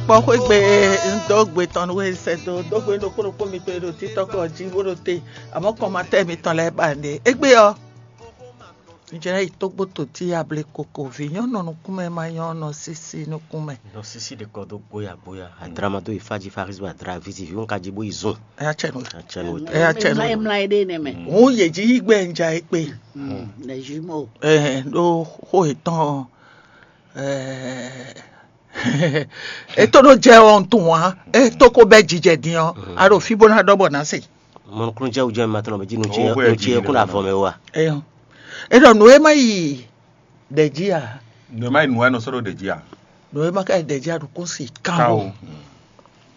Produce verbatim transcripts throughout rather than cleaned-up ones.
Kpɔ́ xwé gbe un dó gbe tɔn nú we sɛ́ dó dó gbe ɖokpó ɖokpó mitɔn e ɖo títɔ́ kɔ jí bó ɖo te, amɔ̌ kɔnmatɛ́ mitɔn lɛ́ɛ ba nɖe. Égbé ɔ́, un jlɛ́ yi tógbó totí able koko vǐ nyɔ́ nɔ nukúnmɛ ma nyɔ́ nɔ sísí nukúnmɛ. Nɔ sísí ɖe kɔ dó gbóya gbóya, adra ma dó yi fá jí Farizi bó adra vízi vǐ wọn ka jí bó yi zun. Ɛ yá tsɛ nú. Atsɛnú wò Ɛ yá tsɛ nú. Mla mla ɖe nɛ mɛ. Hǔn yě jí yí gbɛ un ja é kpe. Les jumeaux. Ɛ ɖó xó yětɔn ɔ, ɛ e tó ɖó jɛ ɔ́ un tunwun ǎ. E tó ko bɛ́ jijɛ din ɔ́, a ɖo fí bó ná ɖɔ bɔ ná se. Mɔnukúnújɛ wújɛ mi ma tɔnɔ bɛ jí nu ce Owó nu ce bɛ́ kún jí avɔ mɛ wa. Eyɔn. E ɖɔ nǔ e ma yi ɖɛ jí a? Nǔ e ma yi nǔ wɛ nɔ sɔ́ ɖo ɖě jí a? Nǔ e ma ka yi ɖɛ jí a ɖo kún si Ká kan o. O.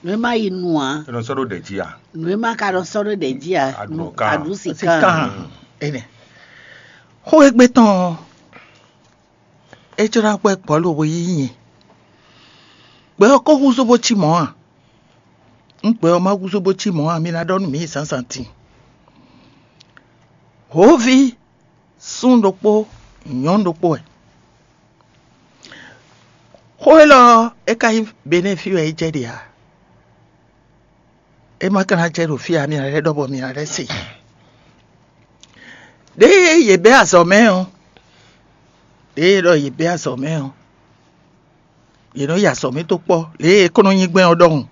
Nǔ e ma yi nu ǎ. E nɔ sɔ́ ɖo ɖě jí a? Nǔ e ma ka nɔ sɔ́ ɖo ɖě jí a? Aɖu kan. Aɖu si Si kan. Kan. Ene. Xó e gbé tɔn ɔ́, é jló ná gbɛ́ gbɔ̌ lobo yí nyi. Gbɛ ɔ́ ko húzú bó cí mɔ̌ a? Nú gbɛ ɔ́ ma húzú bó cí mɔ̌ a, mi ná ɖɔ nú mǐ zǎnzǎn din. Hǒví sún ɖokpó, nyɔ̌nu ɖokpó wɛ. Xó élɔ́ ɔ́, é ka nyí Benɛ́ɛ fí wɛ é jɛ ɖe ǎ. É ma ka ná jɛ ɖo fí ǎ, mi ná lɛ́ ɖɔ bɔ mi ná lɛ́ se. Ɖěe yě bɛ́ azɔ̌ mɛ ɔ́, ɖěe ɖɔ yě bɛ́ azɔ̌ mɛ ɔ́, yě nɔ yi azɔ̌ mɛ dó kpɔ́ lě e é kɔn nɔ nyí gbɛn ɔ́ ɖɔhun.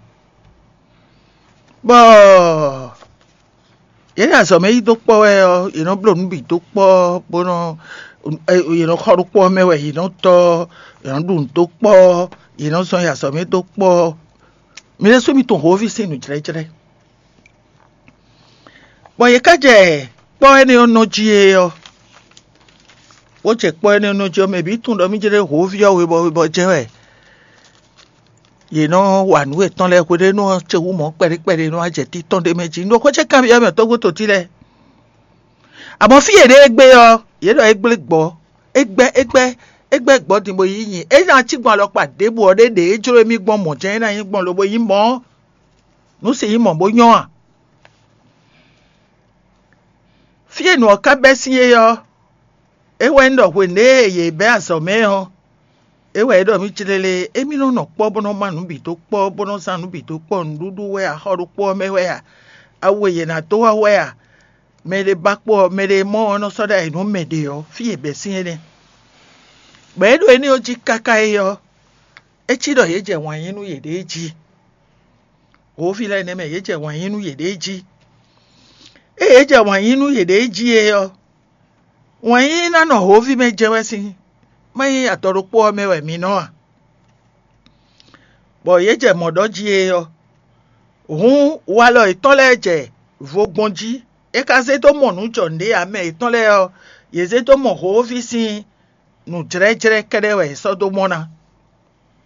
Bɔ yě ɖo azɔ̌ mɛ yí dó kpɔ́ wɛ ɔ́, yě nɔ bló nǔ bǐ dó kpɔ́, bó nɔ yě nɔ xɔ ɖó kpɔ́ mɛ wɛ, yě nɔ tɔ́, yě nɔ ɖu nǔ dó kpɔ́, yě nɔ zɔn yi azɔ̌ mɛ dó kpɔ́. Mi ɖésú mi tunwun hǒví sín nǔjlɛ́jlɛ́. Bɔ yě ká jɛ kpɔ́ énɛ́ ɔ́ nɔ jí é ɔ́, bó jɛ kpɔ́ énɛ́ ɔ́ nɔ jí ɔ́, mɛ bǐ tunwun ɖɔ mí jlɛ́ hǒví ɔ́ webɔ webɔ jɛ́n wɛ. Yě nɔ wa nǔ yětɔn lɛ́ɛ hweɖénu ɔ́ ce wú mɔ̌ kpɛɖé kpɛɖé nɔ wá jɛ títɔn ɖé mɛ jí. Un ɖo xó ce kanbyɔ́ mɛ tɔ́gbó totí lɛ́ɛ. Amɔ̌ fí yě ɖe égbé ɔ́, yě ɖɔ é gblé gbɔ̌, é gbɛ́ é gbɛ́ é gbɛ́ gbɔ̌ din bó yí nyi. É ná cí gbɔn alɔkpa ɖěbǔ ɔ́ ɖé ɖě é jló émí gbɔn mɔ̌ jɛ́n é ná nyí gbɔn lobo nyí mɔ̌. Nǔ si nyí mɔ̌ bó nyɔ́ a? Fí e nǔ ɔ́ ka bɛ́ sín é ɔ́, é wɛ nyí ɖɔ hwenu e yě bɛ́ azɔ̌ mɛ ɔ́, é wɛ é ɖɔ mì clélé, émí nɔ nɔ kpɔ́ bó nɔ má nǔ bǐ dó kpɔ́, bó nɔ zán nǔ bǐ dó kpɔ́, nǔɖuɖu wɛ a, xɔ ɖokpó ɔ́ mɛ wɛ a, awu e yě ná dó wá wɛ a, mɛ ɖé ba kpó ɔ́, mɛ ɖé mɔ ɔ́ nɔ sɔ́ ɖ'ayǐ nú mɛ ɖě ɔ́, fí e bɛ́ sín énɛ́. Bɔ é ɖo énɛ́ ɔ́ jí káká é ɔ́, é cí ɖɔ yě jɛ wǎn yí nú yěɖée jí. Hǒví lɛ́ɛ nɛ́ mɛ yě jɛ wǎn yí nú yěɖée jí. Ée yě jɛ wǎn yí nú yěɖée jí é ɔ́, wǎn yí ná nɔ hǒví mɛ jɛ wɛ sín, má nyí adɔ ɖokpó ɔ́ mɛ wɛ mi nɔ a? Bɔ yě jɛ mɔ̌ ɖɔ jí é ɔ́, hǔn walɔ yětɔn lɛ́ɛ jɛ vo gbɔn jí. É ka zé dó mɔ nǔ jɔ nǔɖé ǎ, mɛ yětɔn lɛ́ɛ ɔ́, yě zé dó mɔ hǒví sín nǔjlɛ́jlɛ́ kɛ́ɖɛ́ wɛ è sɔ́ dó mɔ ná.